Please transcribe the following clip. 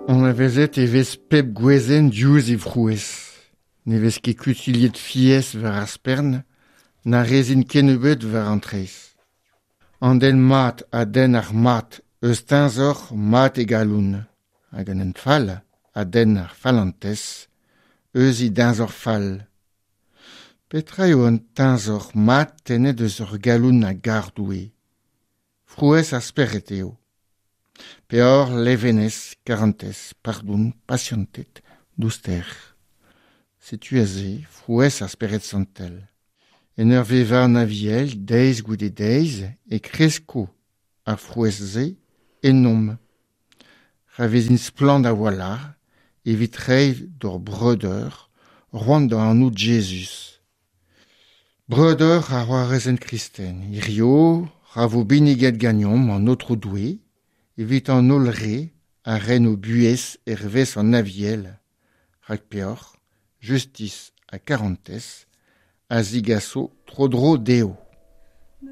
Anavezet e vez pep gwezenn diouzh he frouezh. Ne vez ket kutuilhet fiez war ar spern, na rezin kennebeut war an traezh. An den mat a denn ar mat eus teñzor mat e galon, hag an den fall a denn ar fallentez eus e deñzor fall. Petra eo an teñzor mat tennet eus ur galon a gar Doue? Frouezh ar spered eo. Peoc'h, levenez, karantez, pardon, pasianted, douster. Setu aze frouezh ar Spered Santel. En ur vevañ an Aviel deiz goude deiz e kresko ar frouezh-se ennomp. Ra vezint splann a-walc'h evit reiñ d'hor breudeur c'hoant da anaout Jezuz. Breudeur ha c'hoarezed kristen, hirio ra vo binniget ganeomp an Aotrou Doue evit an holl re a ren o buhez hervez an Aviel, rak peoc'h, justis ha karantez a zigaso tro-dro dezho.